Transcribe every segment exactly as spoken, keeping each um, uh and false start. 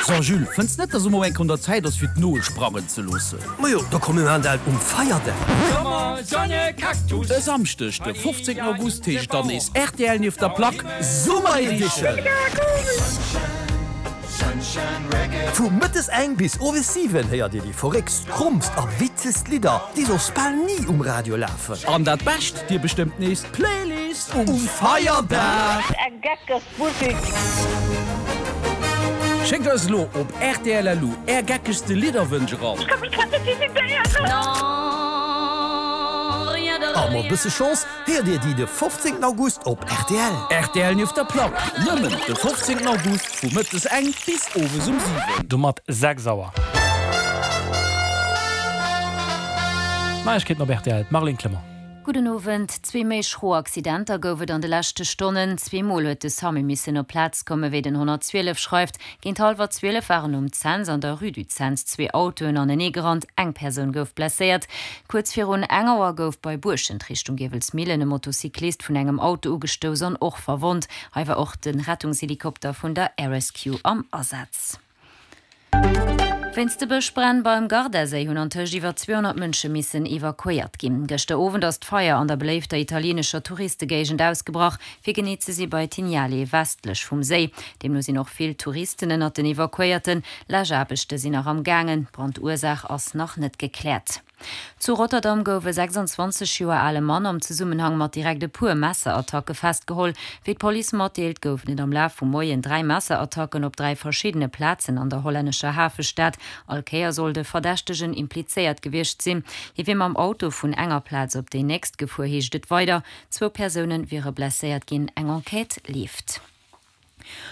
So Jules, fënns net, dass elo enk un der Zäit ass fir d'Noel sprangen ze loossen? Majo, da komm mir maachen dat um Feierdag. E Samschdeg de fofzéngten August heescht dann nees rtl nieft der Plack Summer Edition! Vu mëttes eng bis owes siwen héiert Dir déi verréckst, krommst a witzegst Lidder, déi soss bal ni um Radio lafen. An dat Bescht, Dir bestëmmt nees d'Playlist um Feierdag! Eng geckeg Musek! Schéckt eis elo op rtl.lu är geckegste Lidderwënsch eran. Ech ka mech grad net decidéieren. A mat bësse Chance héiert Dir déi de fofzéngten August op rtl. Rtl nieft der Plack, nëmmen de fofzéngten August vu mëttes eng bis owes um siwen. Domat sechs Auer. Neiegkeeten op rtl, d'Marlene Clement. Gudden Owend. Zwee méi schro Accidenter gouf et an de leschte Stonnen. Zwee Mol huet de Samu missen op d'Plaz kommen, wéi den honnertzwielef schreift. Géint hallwer zwielef waren um Cents an der Rue du Cents zwee Autoen aneneegerannt, eng Persoun gouf blesséiert. Kuerz virun eng Auer gouf bei Buerschent Richtung Giewelsmillen e Motocyclist vun engem Auto ugestouss an och verwonnt. Hei war och de Rettungshelikopter vun der Air Rescue am Asaz. Wéinst de Bëschbränn beim Gardaséi hunn antëscht iwwer zweehonnert Mënsche missen evakuéiert ginn. Gëschter Owend ass d'Feier an der beléifter italieenescher Touristegéigend ausgebrach, fir genee ze si bei Tignale, westlech vum Séi. Deemno sinn och vill Touristen ënnert den Evakuéierten. Läschaarbechte sinn nach am gaangen, d'Brandursaach ass nach net gekläert. Zu Rotterdam gouf e sechsanzwanzeg Joer ale Mann am Zesummenhang mat direkt e puer Messerattacke festgeholl. Wéi d'Police matdeelt, goufen et am Laf vum Moien dräi Messerattacken op dräi verschiddene Plazen an der hollännescher Hafestad. All Kéier soll de Verdächtegen implizéiert gewiescht sinn. Hie wier mam Auto vun enger Plaz op déi nächst gefuer, heescht et weider. Zwou Persoune wiere blesséiert ginn, eng Enquête leeft.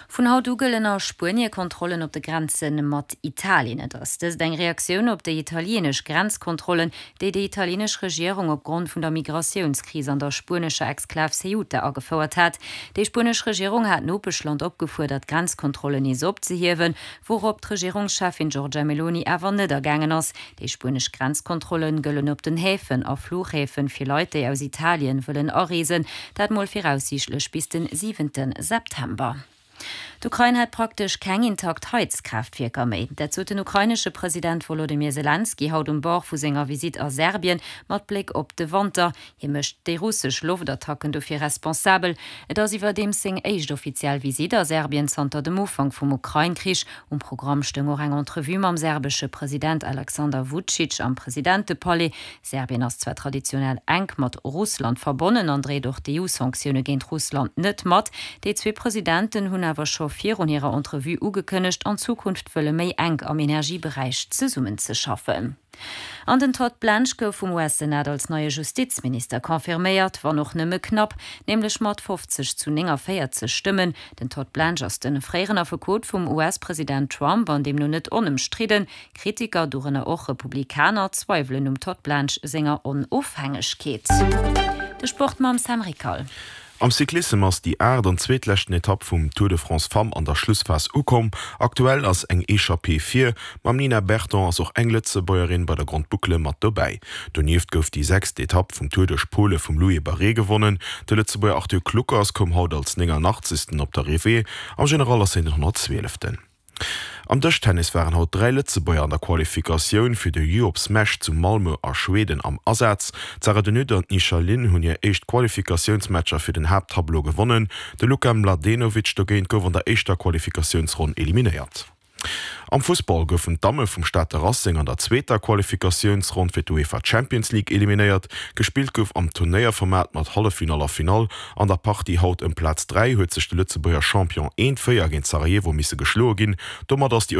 Vun haut u gëllen a Spuenie Kontrollen op de Grenze mat Italien. Et ass dëst eng Reaktioun op déi italienesch Grenzkontrollen, déi déi italienesch Regierung opgrond vun der Migratiounskris an der spuenescher Exklav Ceuta agefouert hat. Déi spuenesch Regierung hat d'Nopeschland opgefuerdert, d'Grenzkontrollen nees opzehiewen, wourop d'Regierungscheffin Giorgia Meloni awer net agaangen ass. Déi spuenesch Grenzkontrolle gëllen op den Häfen a Fluchhäfen fir Leit, déi aus Italien wëllen areesen, dat mol viraussiichtlech bis den siwente September. D'Ukrain hätt praktesch keng intakt Heizkraaftwierker méi. Dat sot den ukrainesche President Wolodymyr Selenskyj haut um Bord vu senger Visitt a Serbien mat Bléck op de Wanter. Hie mécht déi russesch Loftattacken dofir responsabel. Et ass iwwerdeems seng éischt offiziell Visitt a Serbien zanter dem Ufank vum Ukrain-Krich. Um Programm stoung och eng Entrevue mam serbesche President Alexander Vucic am Presidentepalais. Serbien ass zwar traditionell enk mat Russland verbonnen an dréit och d'EU-Sanktioune géint Russland net mat. Déi zwee Presidenten hunn awer scho virun hirer Entrevue ugekënnegt, an Zukunft wëlle méi enk am Energieberäich zesummenzeschaffen. An den Todd Blanche gouf vum U S-Senat als neie Justizminister confirméiert, wann och nëmme knapp, nämlech mat fofzeg zu néngavéierzeg Stëmmen. Den Todd Blanche ass de fréieren Affekot vum U S-President Trump an deemno net onëmstridden. Kritiker, dorënner och Republikaner, zweiwelen um Todd Blanche senger Onofhängegkeet. De Sport mam Sam Rickal. Am Cyclissem ass déi aacht an zweetleschten Etapp vum Tour de France Femmes an der Schlussphas ukomm. Aktuell ass eng Echappée vir. Mam Nina Berton ass och eng Lëtzebuergerin bei der Grande Boucle mat dobäi. Donieft gouf déi sechst Etapp vum Tour duerch Pole vum Louis Barré gewonnen. De Lëtzebuerger Arthur Kluckers koum haut als nénganachtzegsten op d'Arrivée, am General ass hien den honnertzwieleften. Am Dëschtennis waren haut dräi Lëtzebuerger an der Qualifikatioun fir de Europe Smash zu Malmö a Schweden am Asaz. D'Sarah de Nutte an d'Nisha Lin hunn hir éischt Qualifikatiounsmatcher fir den Haapttableau gewonnen. De Luka Mladenovic dogéint gouf an der éischter Qualifikatiounsronn eliminéiert. Am Fussball goufen d'Damme vum Stater Racing an der zweeter Qualifikatiounsronn fir d'UEFA Champions League eliminéiert. Gespillt gouf am Turnéierformat mat Halleffinall a Finall. An der Partie haut ëm Plaz dräi huet sech de Lëtzebuerger Champion eent, véier géint Sarajevo misse geschloe ginn. Domat ass déi.